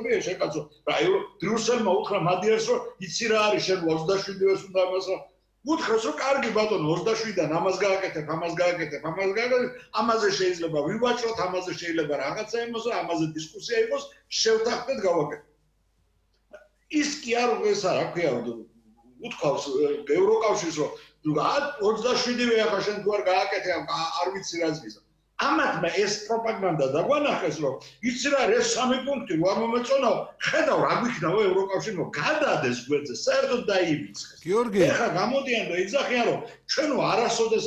წერია შეკაცო. რა ბრიუსელმა უთხრა მადიარს რომ იცი რა არის შენ 27-ს უნდა ამას უთხრას რომ კარგი ბატონო 27-დან ამას გააკეთებ, ამაზე შეიძლება ვივაჭროთ, ამაზე შეიძლება რაღაცა იმოსო, ამაზე დისკუსია იყოს, შევთანხმდეთ გავაკეთოთ. ის კი არ ესა რა ქვია უთქვავს ევროკავშირს რომ 27-ვე ახლა შენ თუ არ გააკეთე არ ვიცი რა ზღიზა. ამათმა ეს პროპაგანდა დაგვანახეს რომ იცი რა ეს 3 პუნქტი რო არ მომეწონაო ხედავ რა გვიქნაო ევროკავშირმა გადადეს გვერდზე საერთოდ დაივიწყეს. გიორგი ეხლა გამოდიან და იძახიან რომ ჩვენო არასოდეს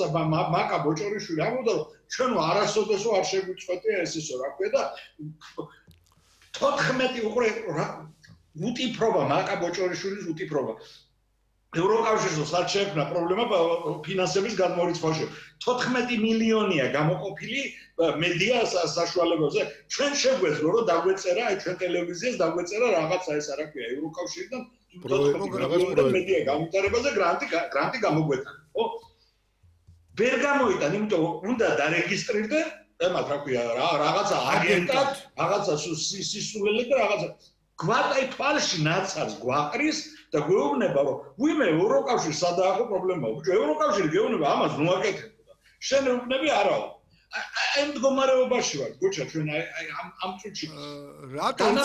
მაკა ბოჭორიშვილი ამბობდა რომ ჩვენო არასოდესო არ შეგვიწყვეტია ეს ისო რა ქვია და 14 უყურე უტიფრობა მაკა ბოჭორიშვილის უტიფრობა ევროკავშირს არ შეექმნა პრობლემა ფინანსების გადმორიცხვაში 14 მილიონია გამოყოფილი მედია საშუალებებზე ჩვენ შეგვეძლო რომ დაგვეწერა აი ჩვენ ტელევიზიას დაგვეწერა რაღაცა ეს არა ქვია ევროკავშირიდან 14 მილიონი მედია გამიტარებაზე გრანტი გამოგვეცა ხო ვერ გამოიტან იმიტომ უნდა დარეგისტრირდე ემათ რა ქვია რაღაცა აგენტად რაღაცა სისულელე და რაღაცა გვატაი თვალში ნაცარს გვაყრის და გვეუბნება რომ ვიმე ევროკავშირს სადაახო პრობლემაა ბიჭო ევროკავშირი გეუბნება ამას ნუ აკეთებდა შენ ეუბნები არაო აი მდგომარეობაში ვარ გოჩა ჩვენ აი ამ წუთში რატომ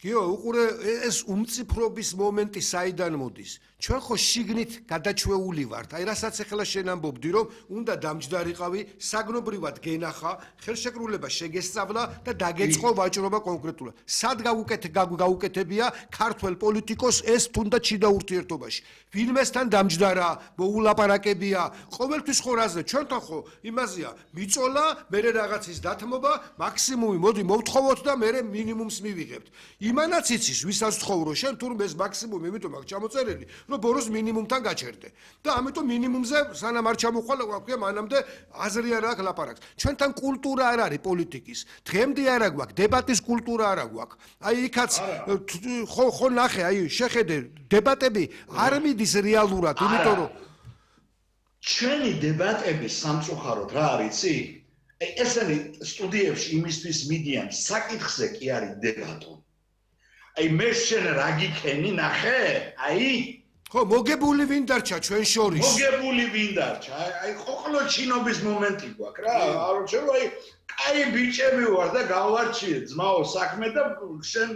გიო უყურე ეს უმციფრობის მომენტი საიდან მოდის ჩვენ ხო შიგნით გადაჩვეული ვართ აი რასაც ახლა შენ ამბობდი რომ უნდა დამჯდარიყავი საგნობრივად გენახა ხელშეკრულება შეგესწავლა და დაგეწყო ვაჭრობა კონკრეტულად სად გაუკეთებია ქართველ პოლიტიკოს ეს თუნდაც შიდა ურთიერთობაში ვინმესთან დამჯდარა მოულაპარაკებია ყოველთვის ხო რაზე ჩვენთან ხო იმაზეა მიწოლა მე რაღაცის დათმობა მაქსიმუმი მოდი მოვთხოვოთ და მე მინიმუმს მივიღებთ იმანაც იცის ვისაც ცხოვრო შენ თურმე ეს მაქსიმუმი იმიტომ აქვს ჩამოწერილი რომ ბოროს მინიმუმთან გაჩერდე და ამიტომ მინიმუმზე სანამ არ ჩამოხვალ აქვია მანამდე აზრი არ აქვს ლაპარაკს ჩვენთან კულტურა არ არის პოლიტიკის დღემდე არ აქვს დებატის კულტურა არ აქვს აი იქაც ხო ნახე აი შეხედე დებატები არ მიდის რეალურად იმიტომ რომ ჩვენი დებატები სამწუხაროდ რა არიცი აი ესენი სტუდიებში იმისთვის მიდიან საკითხზე კი არის დებატო აი მე შენ რა გიქენი ნახე აი ხო მოგებული ვინ დარჩა ჩვენ შორის მოგებული ვინ დარჩა აი ყოყლო ჩინობის მომენტი გვაქვს რა არ შეიძლება აი კაი ბიჭები ვარ და გავარჩიე ძმაო საქმე და შენ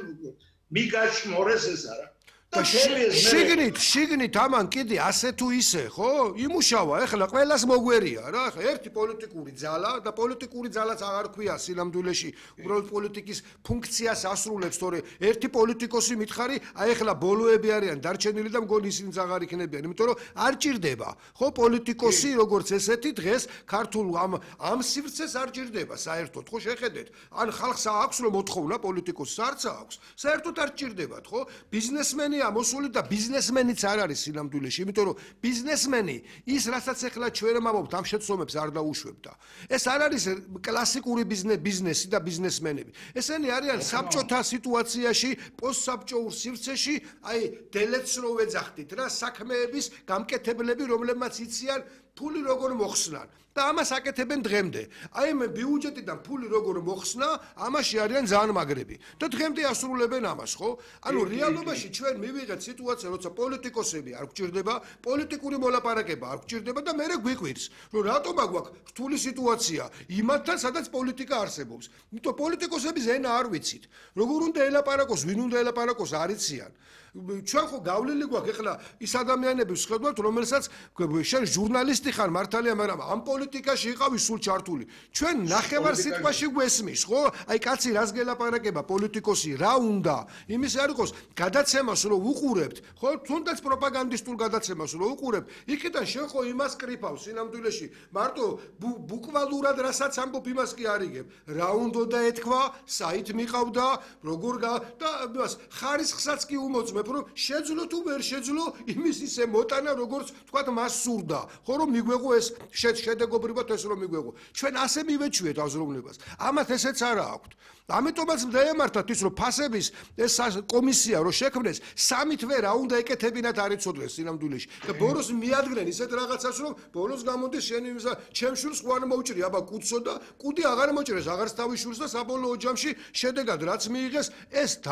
მიგაშმორეს ეს არა შიგნით ამან კიდე ასე თუ ისე ხო იმუშავა ეხლა ყველას მოგვერია რა ხა ერთი პოლიტიკური ძალა და პოლიტიკური ძალაც აღარ ქვია სინამდვილეში უბრალოდ პოლიტიკის ფუნქციას ასრულებს თორე ერთი პოლიტიკოსი მითხარი აი ეხლა ბოლოები არიან დარჩენილი და მგონი ისინიც აღარ იქნებიან იმიტომ რომ არ ჭირდება ხო პოლიტიკოსი როგორც ესეთი დღეს ქართულ ამ სივრცეს არ ჭირდება საერთოდ ხო შეხედეთ ან ხალხს აქვს რომ მოთხოვნა პოლიტიკოსს არც აქვს საერთოდ არ ჭირდებათ ხო ბიზნესმენი მოსული და ბიზნესმენიც არ არის სინამდვილეში, იმიტომ რომ ბიზნესმენი ის რასაც ახლა ჩვენ ამბობთ ამ შეცდომებს არ დაუშვებდა. ეს არ არის კლასიკური ბიზნესი და ბიზნესმენები. ესენი არიან საბჭოთა სიტუაციაში, პოსტსაბჭოურ სივრცეში, აი დელეც რო ვეძახდით რა, საქმეების გამკეთებლები, რომლებმაც იციან ფული როგორ მოხსნან და ამას აკეთებენ დღემდე. აი მე ბიუჯეტიდან ფული როგორ მოხსნა, ამაში არიან ძალიან მაგრები და დღემდე ასრულებენ ამას, ხო? ანუ რეალობაში ჩვენ მივიღეთ სიტუაცია, როცა პოლიტიკოსები არ გვჭირდება, პოლიტიკური მოლაპარაკება არ გვჭირდება და მე გვიყვირს, რომ რატომ აგვაქვს რთული სიტუაცია იმათთან, სადაც პოლიტიკა არსებობს. იმიტომ პოლიტიკოსების ენა არ ვიცით. როგორ უნდა ელაპარაკოს, ვინ უნდა ელაპარაკოს არ იციან. ჩვენ ხო გავლილი გვაქვს ეხლა ის ადამიანები ვსხედავთ, რომელსაც შენ ჟურნალისტი ხარ მართალია, მაგრამ ამ პოლიტიკაში იყავი სულ ჩართული. ჩვენ ნახევარ სიტყვაში გვესმის, ხო? აი კაცი რას გელაპარაკება პოლიტიკოსი, რა უნდა? იმის არ იყოს გადაცემას რომ უყურებთ, ხო? თუნდაც პროპაგანდისტულ გადაცემას რომ უყურებთ, იქიდან შენ ხო იმას კრიფავს სინამდვილეში. მარტო ბუკვალურად რასაც ამბობ იმას კი არიგებ. რა უნდა და ეთქვა, საით მიყავდა, როგორ და იმას ხარისხსაც კი უმოწმებ, რომ შეძლო თუ ვერ შეძლო იმის ისე მოტანა, როგორც თქვა მას სურდა. ხო რომ მიგვეღო ეს შედეგობრივად ეს რომ მიგვეღო. ჩვენ ასე მივეჩვიეთ აზროვნებას. ამათ ესეც არა აქვთ. ამიტომაც დაემართათ ის რომ ფასების ეს კომისია რომ შექმნეს, სამი თვე რა უნდა ეკეთებინათ არ იცოდნენ სინამდვილეში. და ბოროს მიადგნენ ისეთ რაღაცას რომ ბოროს გამოდის შენ ჩემ შვილს ხო არ მოუჭრი, აბა კუცო და კუდი აღარ მოჭრეს, აღარც თავის შვილს და საბოლოო ჯამში შედეგად რაც მიიღეს ეს